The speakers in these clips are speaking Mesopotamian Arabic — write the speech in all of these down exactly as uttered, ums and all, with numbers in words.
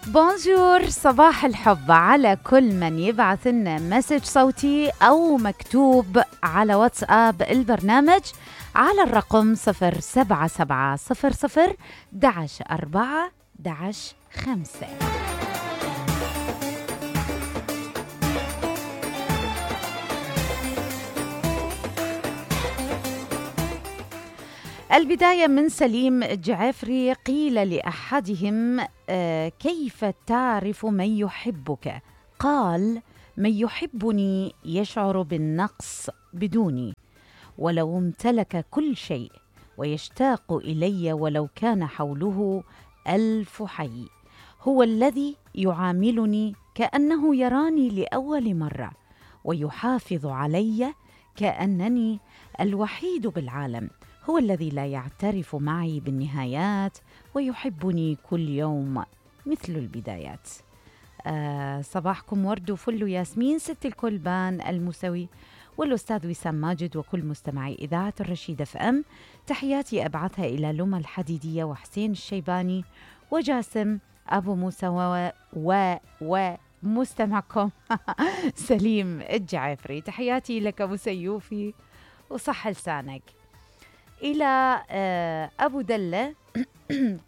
بونجور، صباح الحب على كل من يبعث لنا مسج صوتي أو مكتوب على واتساب البرنامج على الرقم صفر سبعة سبعة صفر صفر دعش أربعة دعش خمسة. البداية من سليم الجعفري. قيل لأحدهم آه كيف تعرف من يحبك؟ قال: من يحبني يشعر بالنقص بدوني، ولو امتلك كل شيء، ويشتاق إلي ولو كان حوله ألف حي. هو الذي يعاملني كأنه يراني لأول مرة، ويحافظ علي كأنني الوحيد بالعالم. هو الذي لا يعترف معي بالنهايات، ويحبني كل يوم مثل البدايات. آه صباحكم ورد وفل وياسمين، ست الكلبان المسوي والأستاذ وسام ماجد وكل مستمعي إذاعة الرشيد اف ام. تحياتي أبعثها إلى لما الحديدية وحسين الشيباني وجاسم أبو موسى و, و... و... مستمعكم سليم الجعفري. تحياتي لك أبو سيوفي وصح لسانك. إلى أبو دلة: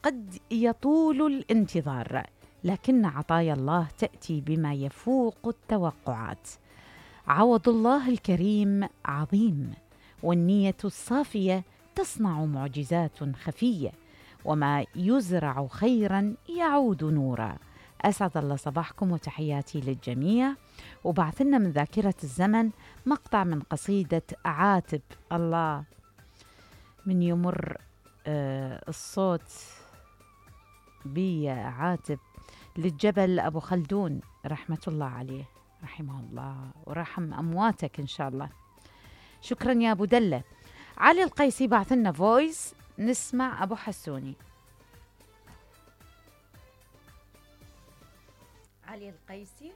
قد يطول الانتظار، لكن عطايا الله تأتي بما يفوق التوقعات. عوض الله الكريم عظيم، والنية الصافية تصنع معجزات خفية، وما يزرع خيرا يعود نورا. أسعد الله صباحكم وتحياتي للجميع. وبعثنا من ذاكرة الزمن مقطع من قصيدة عاتب. الله، من يمر آه الصوت بي عاتب للجبل أبو خلدون رحمة الله عليه، رحمه الله ورحم أمواتك إن شاء الله. شكرا يا أبو دلة. علي القيسي بعثنا فويس، نسمع أبو حسوني. علي القيسي: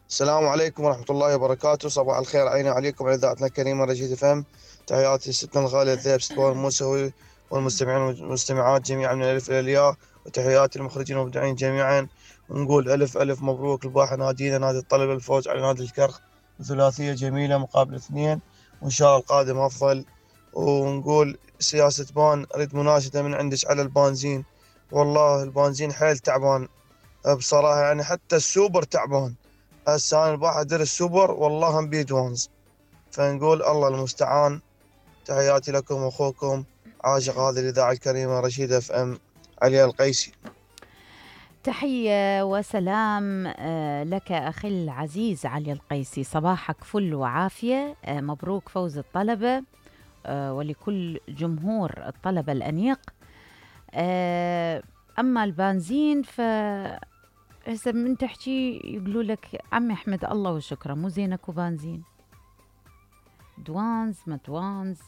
السلام عليكم ورحمة الله وبركاته. صباح الخير عيني عليكم على إذاعتنا الكريمة رشيد فهم. تحياتي ستنا الغالية ذيب ستوار الموسوي والمستمعين والمستمعات جميعا من الألف إلى الياء، وتحياتي المخرجين والمبدعين جميعا. ونقول ألف ألف مبروك لباحة نادينا نادي الطلب الفوز على نادي الكرخ ثلاثية جميلة مقابل اثنين، وإن شاء الله القادم أفضل. ونقول سياسة بان، أريد مناشدة من عندك على البنزين. والله البنزين حيل تعبان بصراحة، يعني حتى السوبر تعبان. هسه أنا الباحة أدير السوبر والله هم بيد وانز، فنقول الله المستعان. تحياتي لكم أخوكم عاشق هذه الإذاعة الكريمة رشيد اف ام، علي القيسي. تحية وسلام لك أخي العزيز علي القيسي. صباحك فل وعافية. مبروك فوز الطلبة ولكل جمهور الطلبة الأنيق. أما البنزين ف هسه من تحكي يقولوا لك عمي احمد الله وشكرا، مو زينك وبنزين دوانز ما دوانز.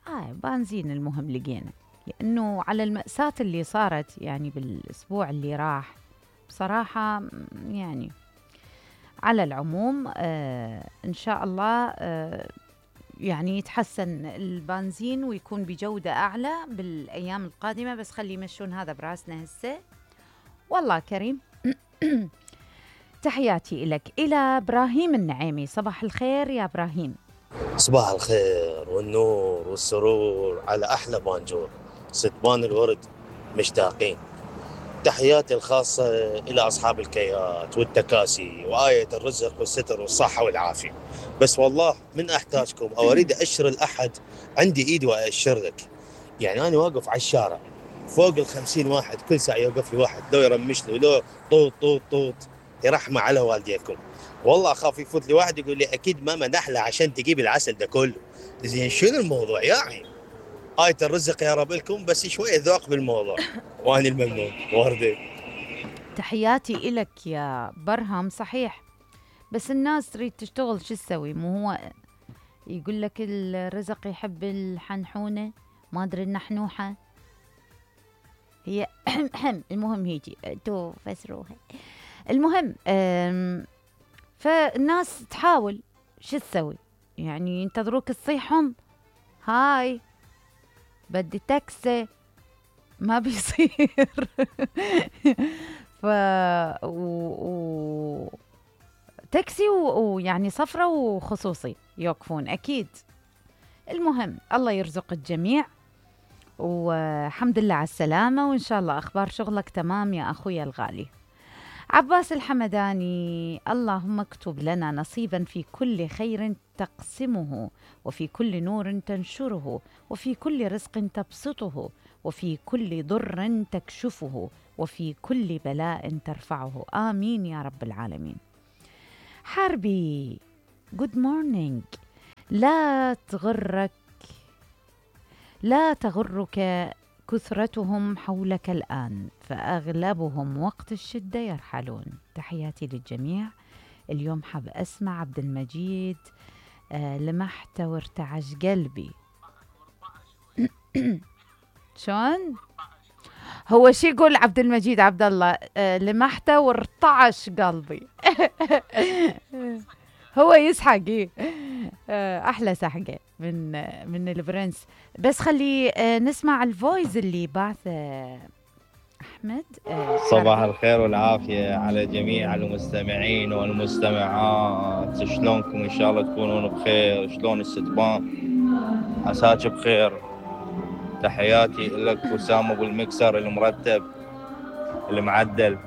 آه بنزين المهم لقينا، لأنه على المأساة اللي صارت يعني بالأسبوع اللي راح بصراحة، يعني على العموم آه إن شاء الله آه يعني يتحسن البنزين ويكون بجودة أعلى بالأيام القادمة، بس خلي يمشون هذا براسنا هسه والله كريم. تحياتي لك. إلى إبراهيم النعيمي. صباح الخير يا إبراهيم. صباح الخير والنور والسرور على أحلى بانجور ستبان الورد، مشتاقين. تحياتي الخاصة إلى أصحاب الكيات والتكاسي وآية الرزق والستر والصحة والعافية. بس والله من أحتاجكم أو أريد أشر الأحد عندي إيدي وأشر لك. يعني أنا واقف على الشارع فوق الخمسين واحد، كل ساعة يوقف لي واحد لو يرمش لي لو طوط طوط طوط. يرحمة على والديكم، والله أخاف يفوت لي واحد يقول لي أكيد ماما نحلة عشان تجيب العسل ده كله. زين شنو الموضوع يا عين؟ آية الرزق يا رب لكم، بس شوية ذوق بالموضوع. وأنا الممنون وردي. تحياتي إلك يا برهم. صحيح، بس الناس تريد تشتغل شو تسوي؟ مو هو يقول لك الرزق يحب الحنحونة ما أدري النحنوحة هي. المهم هيجي تو فسروها. المهم فالناس تحاول شو تسوي؟ يعني ينتظروك تصيحهم هاي بدي تاكسي ما بيصير. ف و... و... تاكسي ويعني و... صفرة وخصوصي يوقفون أكيد. المهم الله يرزق الجميع، والحمد لله على السلامة، وإن شاء الله أخبار شغلك تمام يا أخويا الغالي. عباس الحمداني: اللهم اكتب لنا نصيبا في كل خير تقسمه، وفي كل نور تنشره، وفي كل رزق تبسطه، وفي كل ضر تكشفه، وفي كل بلاء ترفعه، آمين يا رب العالمين. حربي: good morning. لا تغرك لا تغرك كثرتهم حولك الآن، فأغلبهم وقت الشدة يرحلون. تحياتي للجميع. اليوم حاب أسمع عبد المجيد آه لمحت وارتعش قلبي. شون؟ هو شي يقول عبد المجيد عبد الله؟ آه لمحت وارتعش قلبي. هو يسحق إيه؟ آه أحلى سحقة من آه من البرنس. بس خلي آه نسمع الفويز اللي بعث آه أحمد. آه صباح الخير والعافية على جميع المستمعين والمستمعات. شلونكم؟ إن شاء الله تكونون بخير. شلون الستبان؟ عساك بخير. تحياتي لك وسام أبو المكسر المرتب المعدل.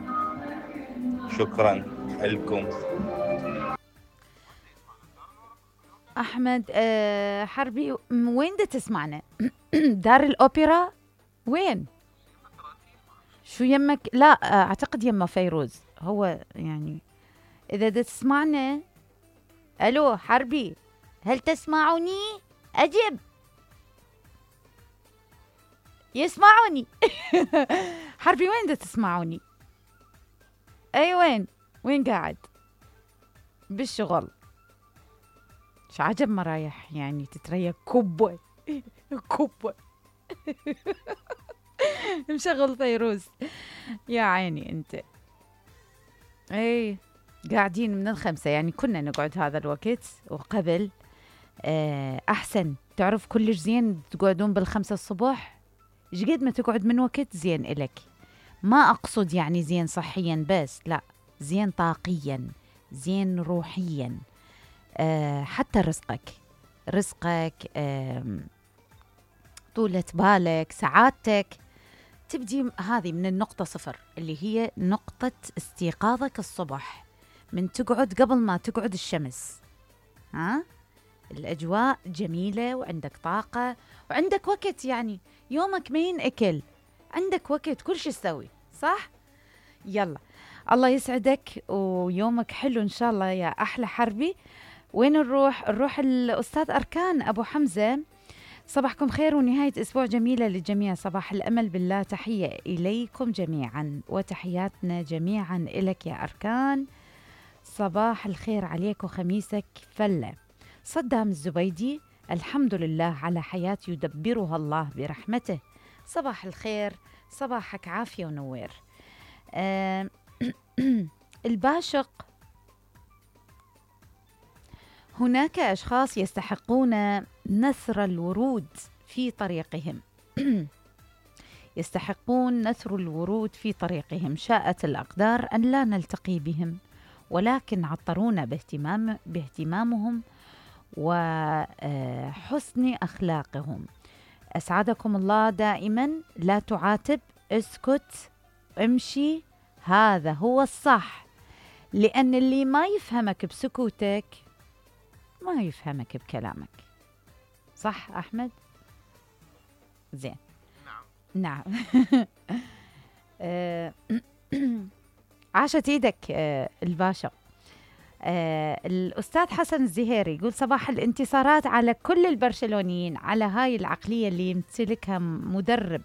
شكرا لكم. أحمد آه حربي، وين دا تسمعنا؟ دار الأوبرا؟ وين؟ شو يمك؟ لا أعتقد يما فيروز. هو يعني إذا دا تسمعنا. ألو حربي، هل تسمعوني؟ أجب. يسمعوني. حربي وين دا تسمعوني؟ أي وين؟ وين قاعد؟ بالشغل. شو عجب ما رايح يعني تتريق كبوة. كبوة. مشغل فيروز يا عيني انت. اي قاعدين من الخمسة، يعني كنا نقعد هذا الوقت وقبل آه احسن. تعرف كلش زين تقعدون بالخمسة الصبح. ايش قد ما تقعد من وقت زين إلك. ما اقصد يعني زين صحيا بس، لا، زين طاقيا، زين روحيا. آه حتى رزقك رزقك آه طولة بالك، سعادتك تبدي هذه من النقطة صفر، اللي هي نقطة استيقاظك الصبح، من تقعد قبل ما تقعد الشمس. ها الأجواء جميلة وعندك طاقة وعندك وقت، يعني يومك ما ينأكل، عندك وقت كل شيء تسوي صح. يلا الله يسعدك ويومك حلو إن شاء الله يا أحلى حربي. وين نروح؟ نروح الأستاذ أركان أبو حمزة. صباحكم خير ونهاية أسبوع جميلة للجميع. صباح الأمل بالله. تحية إليكم جميعا وتحياتنا جميعا إلك يا أركان. صباح الخير عليك وخميسك فلة. صدام الزبيدي: الحمد لله على حياة يدبرها الله برحمته. صباح الخير، صباحك عافية ونوير. آه الباشق: هناك أشخاص يستحقون نثر الورود في طريقهم. يستحقون نثر الورود في طريقهم. شاءت الأقدار أن لا نلتقي بهم، ولكن عطرونا باهتمام باهتمامهم وحسن أخلاقهم. أسعدكم الله دائما. لا تعاتب، اسكت، امشي، هذا هو الصح، لأن اللي ما يفهمك بسكوتك ما يفهمك بكلامك. صح أحمد؟ زين. نعم. نعم. عاشت ايدك الباشا. الأستاذ حسن الزهيري يقول: صباح الانتصارات على كل البرشلونيين، على هاي العقلية اللي يمتلكها مدرب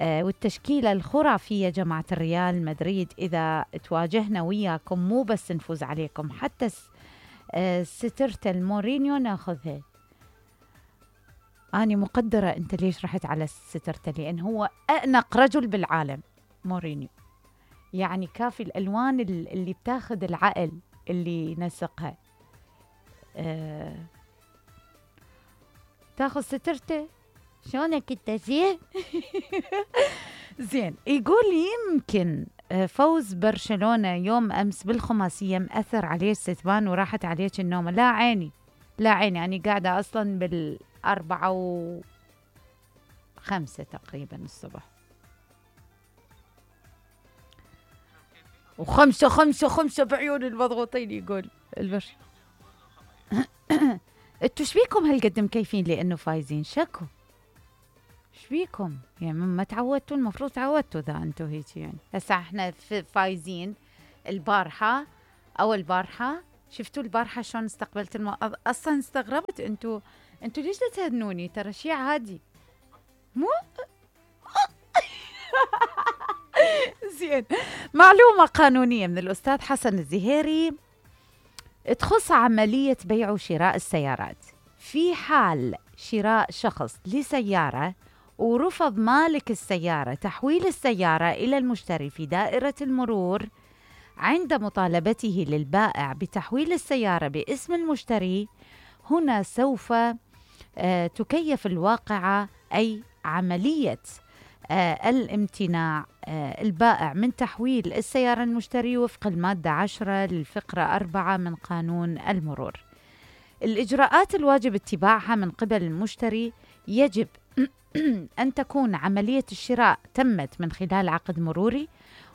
والتشكيلة الخرافية جماعة الريال مدريد. إذا تواجهنا وياكم مو بس نفوز عليكم، حتى سترت المورينيو ناخذها. أنا مقدرة أنت ليش رحت على سترته، لأن هو أأنق رجل بالعالم مورينيو. يعني كافي الألوان اللي بتاخذ العقل اللي نسقها. أه تاخذ سترته شلونك انت زين؟ زين، يقول يمكن فوز برشلونة يوم أمس بالخماسية مأثر عليه ستبان وراحت عليك النوم. لا عيني لا عيني، أنا قاعدة أصلا بالأربعة وخمسة تقريبا الصبح، وخمسة خمسة خمسة بعيون المضغوطين يقول البرش. انتوا شبيكم هالقد مكيفين لأنه فايزين؟ شكو شبيكم يعني؟ ما تعودتوا؟ المفروض تعودتوا ذا انتوا هيك يعني. هسه احنا فايزين البارحة، أول بارحة شفتوا البارحة شلون استقبلت الم... أصلا استغربت. انتوا انتوا ليش تهنوني؟ ترى شيء عادي مو زين. معلومة قانونية من الأستاذ حسن الزهيري تخص عملية بيع وشراء السيارات. في حال شراء شخص لسيارة ورفض مالك السيارة تحويل السيارة إلى المشتري في دائرة المرور عند مطالبته للبائع بتحويل السيارة باسم المشتري، هنا سوف آه تكيف الواقعة، أي عملية آه الامتناع آه البائع من تحويل السيارة المشتري وفق المادة عشرة للفقرة أربعة من قانون المرور. الإجراءات الواجب اتباعها من قبل المشتري يجب أن تكون عملية الشراء تمت من خلال عقد مروري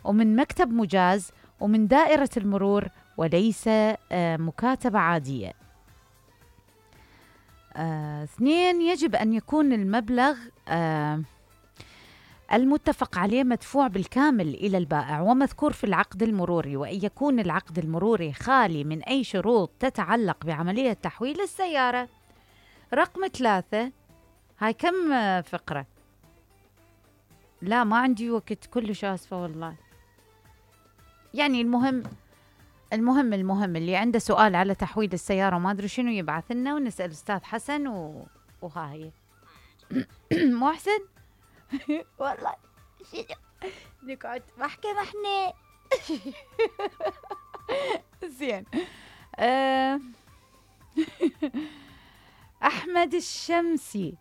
ومن مكتب مجاز ومن دائرة المرور وليس آه مكاتبة عادية. آه، اثنين، يجب أن يكون المبلغ آه المتفق عليه مدفوع بالكامل إلى البائع ومذكور في العقد المروري، وأن يكون العقد المروري خالي من أي شروط تتعلق بعملية تحويل السيارة. رقم ثلاثة، هاي كم فقرة؟ لا ما عندي وقت كلش آسفة والله. يعني المهم المهم المهم اللي عنده سؤال على تحويل السيارة وما أدري شنو يبعث لنا ونسأل أستاذ حسن و... وها هي. مو أحسن؟ والله نقعد محكمة احنا. زين. أه أحمد الشمسي،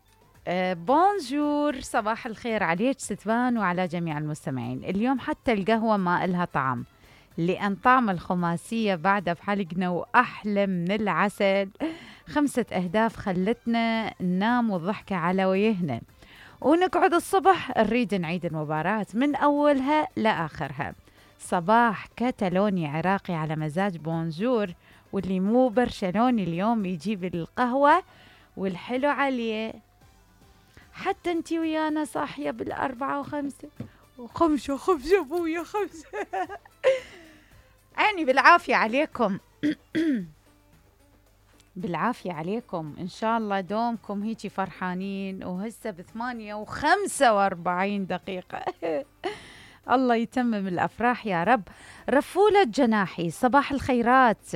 أه بونجور، صباح الخير عليك ستبان وعلى جميع المستمعين. اليوم حتى القهوة ما إلها طعم لأن طعم الخماسية بعد بحلقنا وأحلى من العسل. خمسة أهداف خلتنا ننام والضحكة على وجهنا ونقعد الصبح نريد نعيد المباراة من أولها لآخرها. صباح كتالوني عراقي على مزاج بونجور، واللي مو برشلوني اليوم يجيب القهوة والحلو عليه. حتى انتي ويانا صاحية بالأربعة وخمسة وخمسة خمسة بويا خمسة. عيني بالعافية عليكم. بالعافية عليكم، إن شاء الله دومكم هيجي فرحانين. وهسه بثمانية وخمسة وأربعين دقيقة. الله يتمم الأفراح يا رب. رفولة جناحي، صباح الخيرات